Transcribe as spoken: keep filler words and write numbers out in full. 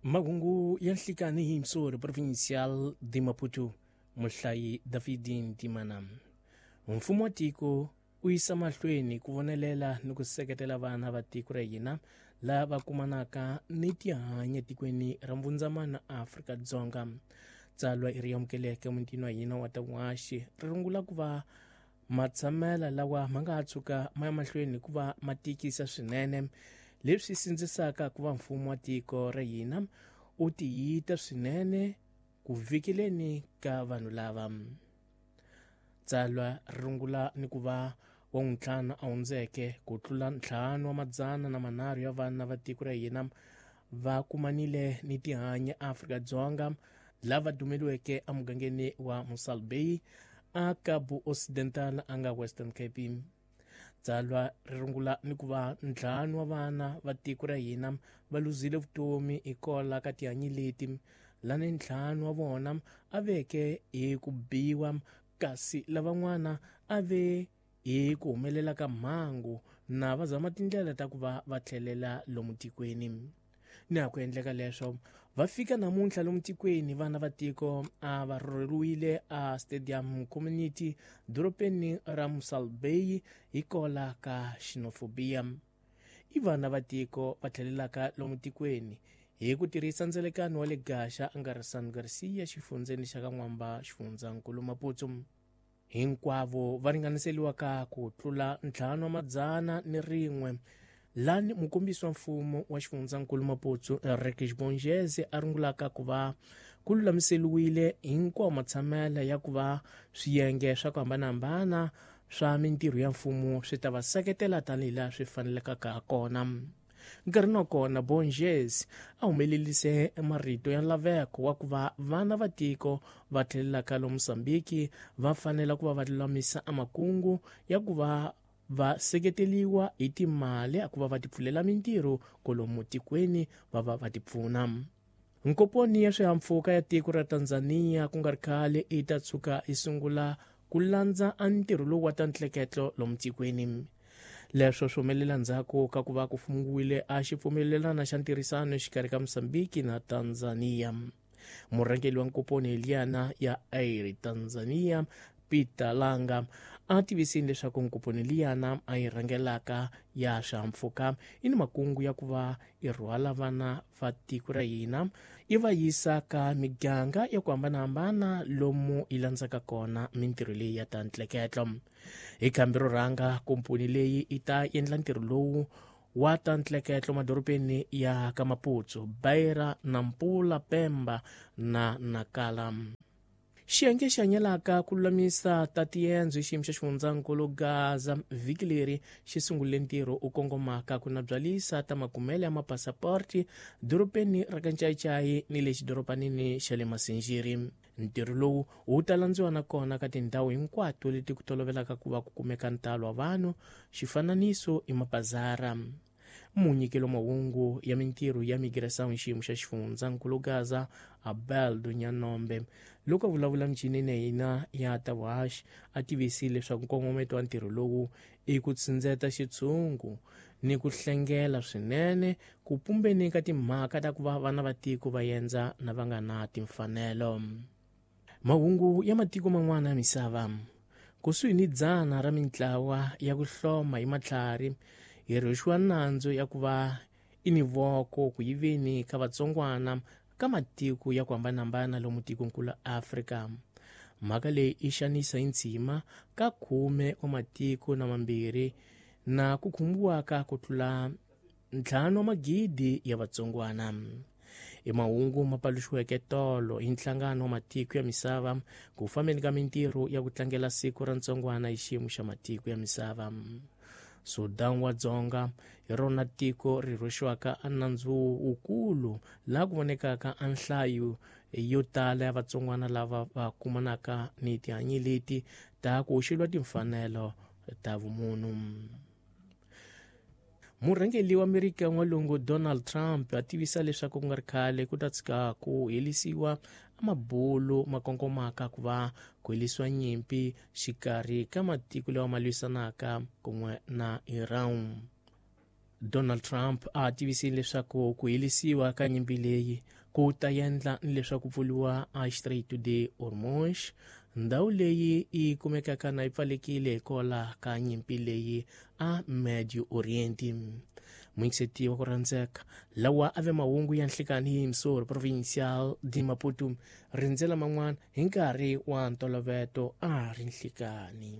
Mahungu ya nhlikani hi Msori Provincial de Maputo, muhlayi David Ntimana. Mfumo wa tiko u yisa mahlweni ku vonelela ni ku seketela vana va tiko ra hina lava kumanaka ni tihanyi etikweni ra Mbundzamana Afrika-Dzonga. Tsalwa i ri amukeleke mutini wa hina wa Tawaxi ri rungula ku va matshamela lawa ma nga ha tshuka ma ya mahlweni ku va ma tikisa swinene, leswi sindzisaka ku va mfumo wa tiko ra hina u tiyita swinene ku vikeleni ka vanhu lava. Tsalwa ri rungula ni ku va wa ntlhanu a hundzeke ku tlula ntlhanu wa madzana na manharhu ya vana va tiko ra hina va kumanile ni tihanyi Afrika-Dzonga lava dumeliweke emugangeni wa Mossel Bay a Cabo Occidental a nga Western Cape. Tsalwa ri rungula ni ku va ntlhanu wa vana va tiko ra hina va luzile vutomi hikola ka tihanyi leti, lani ntlhanu wa vona a veke hi ku biwa kasi lavan'wana a ve hi ku humelela ka mhangu na va zama tindlela ta ku va va tlhelela lomu tikweni. Ni ha ku endleka leswo va fika namuntlha lomu tikweni vana va tiko a va rhurheriwile a Stadium Community dorobeni ra Mossel Bay hikola ka xenophobia. I vana va tiko va tlhelelaka lomu tikweni hi ku tirhisa ndzelekano wa le Gaxa a nga ri San Garcia xifundzeni xa ka N'wamba xifundzankulu Maputo. Hinkwavo va ringaniseliwa ka ku tlula ntlhanu wa madzana ni rin'we lani mukombisi wa mfumo wa xifundzankulu Maputo Eric Bongeze a rungulaka ku va ku lulamiseliwile hinkwawo matshamela ya ku va swiyenge swa ku hambanahambana swa mintirho ya mfumo swi ta va seketela tanihi laha swi fanelekaka ha kona. Nkarhi wa kona Bongeze a humelerise marito ya laveko wa ku va vana va tiko va tlhelelaka lomu Mozambique va fanela ku va va lulamisa amakungu ya ku va va seketeliwa hi timali a ku va va tipfulela mintirho kolomu tikweni va va va tipfuna. Nkoponi ya swihahampfhuka ya tiko ra Tanzania ku nga ri khale yi ta tshuka yi sungula ku landza a ntirho lowu wa ta ntleketlo lomu tikweni. Leswo swi humelela ndzhaku ka ku va ku fungiwile a xipfumelelana xa ntirhisano exikarhi ka Mozambique na Tanzania. Murhangeri wa nkoponi liyana ya Air Tanzania Peter Langa a tivisile leswaku nkoponi liyana a yi rhangelaka ya swihahampfhuka yi ni makungu ya ku va yi rhwala vana va tiko ra hina yi va yisa ka miganga ya ku hambanahambana lomu yi landzaka kona mintirho leyi ya ta ntleketlo. Hi khambi ro rhanga komponi leyi yi ta endla ntirho lowu wa ta ntleketlo madorobeni ya ka Maputo, Beira, Nampula, Pemba na Nacala. Xiyenge xi hanyelaka ku lulamisa ta tiendzo hi xiyimo xa xifundzankulu Gaza vhiki leri xi sungurile ntirho u kongomaka ku nabyalisa ta makumele ya mapasaporti dorobeni ra ka Ncayicayi ni le xidorobanini xa le Masinjiri. Ntirho lowu wu ta landziwa na kona ka tindhawu hinkwato leti ku tolovelaka ku va ku kumeka ntalo wa vanhu, xifananiso i mabazara. Munyikelo mahungu ya mintirho ya migração hi xiyimo xa xifundzankulu Gaza Abel Dunyanombe loko a vulavula michinini ya hina ya Tawash a tivisile leswaku nkongometo wa ntirho lowu i ku tsindzeta xitshungu ni ku hlengela swinene ku pumbeni ka timhaka ta ku va vana va tiko va endza na va nga na timfanelo. Mahungu ya matiko man'wana ya misava. Kusuhi ni dzana ra mintlawa ya ku hloma hi matlhari hi rhwexiwa nandzu ya ku va i ni voko ku yiveni ka vatsongwana ka matiko ya ku hambanahambana lomu tikonkulu Afrika. Mhaka leyi yi xanisa hi ntshima ka khume wa matiko na mambirhi na ku khumbiwaka ku tlula ntlhanu wa magidi ya vatsongwana. I mahungu ma paluxiweke tolo hi nhlangano wa matiko ya misava ku fambeni ka mintirho ya ku tlangela siku ra ntsongwana hi xiyimo xa matiko ya misava. Sudan wa Dzonga hi rona tiko ri rhwexiwaka a nandzu wukulu laha ku vonekaka a nhlayo yo tala ya vatsongwana lava va kumanaka ni tihanyi leti ta ku hoxeliwa timfanelo ta vumunhu. Murhangeri wa Amerika n'walungu Donald Trump a tivisa leswaku ku nga ri khale ku ta tshika ku helisiwa amabulu ma kongomaka ku va ku helisiwa nyimpi xikarhi ka matiko lawa ma lwisanaka kun'we na Iran. Donald Trump a tivisile leswaku ku helisiwa ka nyimpi leyi ku ta endla ni leswaku pfuriwa a Strait de Hormuz, ndhawu leyi yi kumekaka na yi pfalekile hikwalaho ka nyimpi leyi a Medio Oriente. Muyingiseti wa ku rhandzeka, lawa a ve mahungu ya nhlikani hi Emissor Provincial de Maputo, rindzela man'wana hi nkarhi wa ntoloveto a ri nhlikani.